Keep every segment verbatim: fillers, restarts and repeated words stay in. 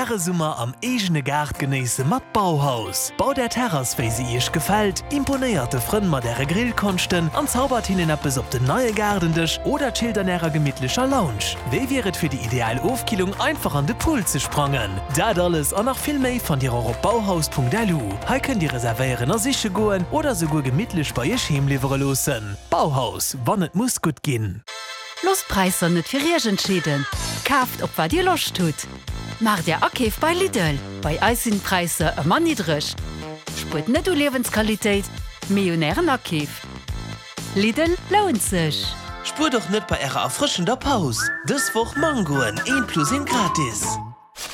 Äre Summer am eegene Gaart genéisse mat Bauhaus. Baut Är Terrass wéi se Iech gefält, imponéiert de Frënn mat Äre Grillkonschten an zaubert hinnen eppes op den neie Gaardendësch oder chillt an Ärer gemittlecher Lounge. Wéi wier et fir déi ideal Ofkillung einfach an de Pool ze sprangen? Dat alles an nach vill méi fannt Dir och op bauhaus.lu. Hei kënnt Dir reservéieren a siche goen oder souguer gemittlech bei Iech heem liwwere loossen. Bauhaus, wann et muss gutt ginn. Loosst d'Präisser net fir Iech entscheeden, kaaft op wat Dir Loscht hutt. Maacht Är Akeef bei Lidl, bei eis sinn d'Präisser ëmmer niddreg. Spuert net u Liewensqualitéit, mee un Ären Akeef. Lidl lount sech! Spuert och net bei ärer erfrëschender Paus! Dës Woch Mangoen, een plus een gratis!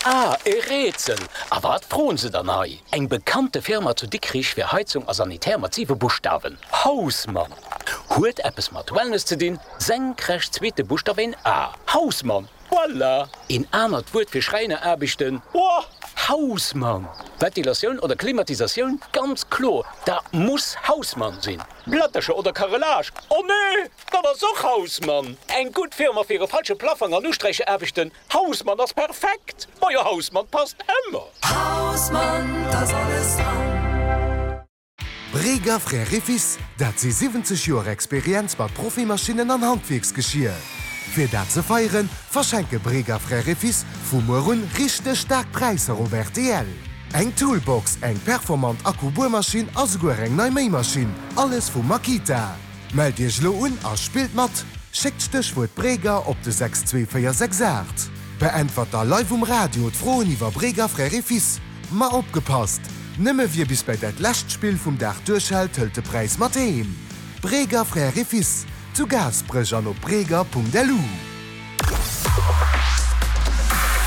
Ah, e Rätsel! A wat froen se dann hei? Eng bekannte Firma zu Dikrich fir Heizung a Sanitär mat siwe Buschtawen, Hausmann! Huet eppes mat Wellness ze dinn, senkrecht zweete Buschtaf een A, Hausmann! Voilà! Een anert Wuert fir Schräineraarbechten, Boah! Hausmann! Ventilatioun oder Klimatisatioun? Ganz kloer, dat muss Hausmann sinn! Plättercher oder Carrelage? Oh nee, dat ass och Hausmann! Eng gutt Firma fir e falsche Plaffong an Usträicheraarbechten? Hausmann ass perfekt! Majo, Hausmann passt ëmmer! Hausmann, 't ass alles dran! Breger Frères et Fils, dat si siwwenzeg Joer Experienz mat Profimaschinnen an Handwierksgeschier. Fir dat ze feieren, verschenke Breger Frères et Fils vu muer un richteg staark Präisser op rtl. Eng Toolbox, eng performant Akku-Buermaschinn a souguer eng nei Méimaschinn, alles vu Makita. Mellt Iech elo un a spillt mat! Schéckt d'Stéchwuert Breger op de sechs zwee véier sechs aacht. Beäntwert da live um Radio d'Froen iwwer Breger Frères et Fils. Ma opgepasst! Nëmme wie bis bei dat lescht Spill vum Dag duerchhält, hëlt de Präis mat heem. Breger Frères et Fils, zu Gaasperech an op breger.lu.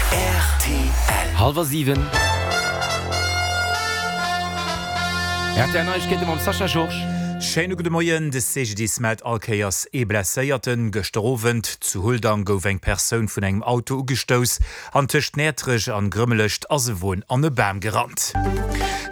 Rtl. Hallwer siwen. Rtl Neiegkeete mam Sascha Georges. Schéine gudde Moien. De C G D I S mellt all Kéiers ee Blesséierten. Gëschter Owend zu Huldang gouf eng Persoun vun engem Auto ugestouss an tëscht Näertrech an Grëmmelecht ass e Won an e Bam gerannt.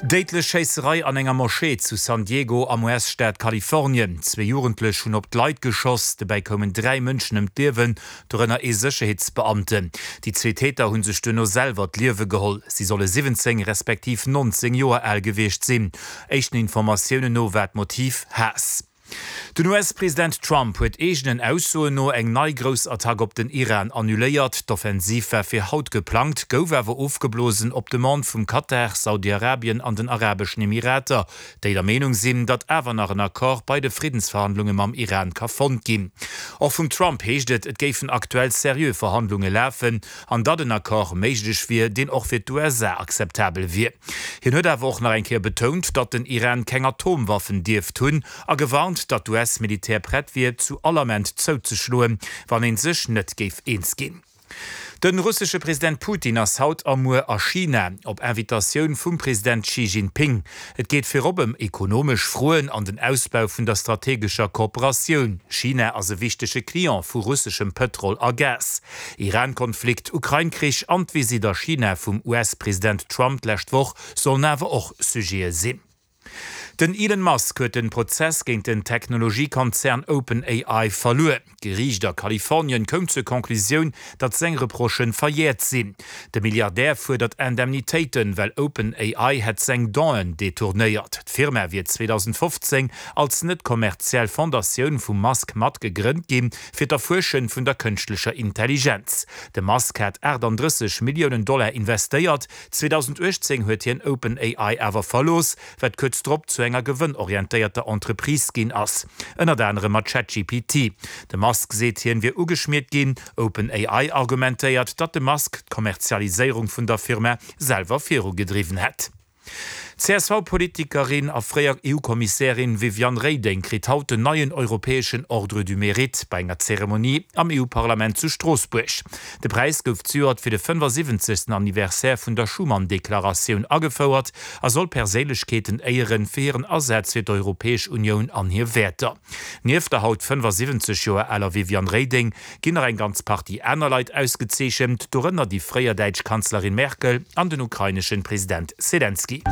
Déidlech Schéisserei an enger Moschee zu San Diego am U S-Staat Kalifornien. Zwee Jugendlech hunn op d'Leit geschoss, dobäi koumen dräi Mënschen ëm d'Liewen, dorënner ee Sécherheetsbeamten. Déi zwee Täter hu sech duerno selwer d'Liewe geholl. Si solle siwwenzéng respektiv nonzéng Joer al gewiescht sinn. Éischten Informatiounen no war d'Motiv Haass. Den U S-President Trump huet eegenen Aussoen no eng nei grouss Attack op den Iran annuléiert. D'Offensiv war fir haut geplangt, gouf awer ofgeblosen op Demande vum Katar, Saudi-Arabien an den Arabeschen Emirater, déi der Meenung sinn, datt awer nach en Accord bei de Friddensverhandlunge mam Iran ka fonnt ginn. Och vum Trump heescht et, et géifen aktuell seriö Verhandlunge lafen an datt en Accord méiglech wier, deen och fir d'U S A akzeptabel wier. Hien huet awer och nach eng Kéier betount, datt den Iran keng Atomwaffen dierft hunn a gewarnt, datt d'U S-Militär prett wier, zu all Ament zouzeschloen, wann ee sech net géif eens ginn. De russesche President Putin ass haut a muer a China, op Invitatioun vum President Xi Jinping. Et geet virop ëm ekonomesch Froen an den Ausbau vun der strategescher Kooperatioun. China ass e wichtege Client vu russeschem Pëtrol a Gas. Iran-Konflikt, Ukrain-Krich an d'Visitt a China vum U S-President Trump d'lescht Woch sollen awer och Sujete sinn. Den Elon Musk huet de Prozess géint den Technologiekonzern OpenAI verluer. D'Geriicht a Kalifornien koum zur Conclusioun, datt seng Reprochë verjäert sinn. De Milliardär fuerdert Indemnitéiten, well OpenAI hätt seng Donen detournéiert. D'Firma wier zweedausendfofzéng als net kommerziell Fondatioun vum Musk mat gegrënnt ginn, fir d'Erfuersche vun der kënschtlecher Intelligenz. De Musk hat aachtanddrësseg Milliounen Dollar investéiert. zweedausenduechtzéng huet hien OpenAI awer verlooss, wat kuerz drop zu enger gewënnorientéierter Entreprise ginn ass, ënnert anerem mat ChatGPT. De Musk seet, hien wier ugeschmiert ginn. OpenAI argumentéiert, datt de Musk d'Kommerzialiséierung vun der Firma selwer virugedriwwen hätt. D'C S V-Politikerin a fréier E U-Kommissärin Viviane Reding kritt haut den neien europäeschen Ordre du Mérite bei enger Zeremonie am E U-Parlament zu Stroossbuerg. De Präis gouf zejoert fir de fënnefasiwwenzegsten Anniversaire vun der Schuman-Deklaratioun agefouert a soll Perséinlechkeeten éieren fir hiren Asaz fir d'Europäesch Unioun an hir Wäerter. Nieft der haut fënnefasiwwenzeg Joer aler Viviane Reding ginn nach eng ganz Partie aner Leit ausgezeechent, dorënner déi fréier däitsch Kanzlerin Merkel an den ukrainesche President Selenskyj.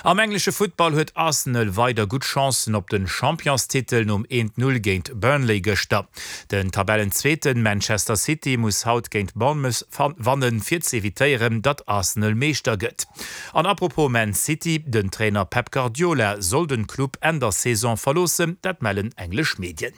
Am englesche Futtball huet Arsenal weider gutt Chancen op den Championstitel nom eent Null géint Burnley gëschter. Den Tabellenzweeten Manchester City muss haut géint Bournemouth wannen, fir ze evitéieren, datt Arsenal Meeschter gëtt. An apropos Man City, den Trainer Pep Guardiola soll den Club Enn der Saison verloossen, dat mellen englesch Medien.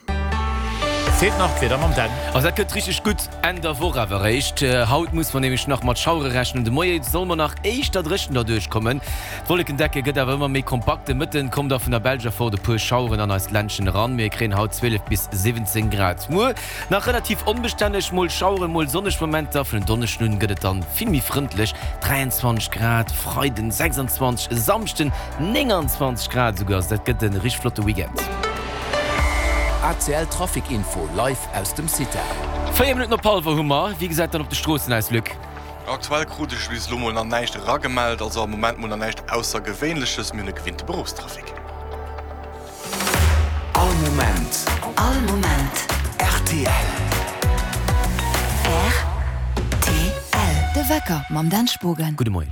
Feelt nach d'Wieder mam Dan. Also dat gëtt richteg gutt Enn der Woch awer eréischt. Haut muss mer nämlech nach mat Schauere rechnen. De Moie soll mer nach éischter dréchen derduerch kommen. D'Wollekendecke gëtt awer ëmmer méi kompakt. De Mëtten kommen da vun der Belsch erfort e puer Schaueren an eist Ländchen eran. Mir kréien haut zwielef bis siwwenzéng Grad. Muer nach relativ onbestänneg, mol Schaueren, mol sonneg Momenter. Vun en Donneschden un gëtt et dann vill méi frëndlech, dräianzwanzeg Grad, Freiden sechsanzwanzeg, e Samschden nénganzwanzeg Grad esouguer. Also dat gëtt e richteg flotte Weekend. A C L Trafic Info live aus dem CITA. Véier Minutten op hallwer hu mer. Wéi gesäit dann op de Stroossen aus, Luc? Aktuell krut ech bis elo mol nach näischt eragemellt, also am Moment mol nach näischt Aussergewéinleches. Mir hunn e gewinnte Beruffstrafic. All Moment. All Moment. R T L. R T L. De Wecker mam Dan Spogen. Gudde Moien.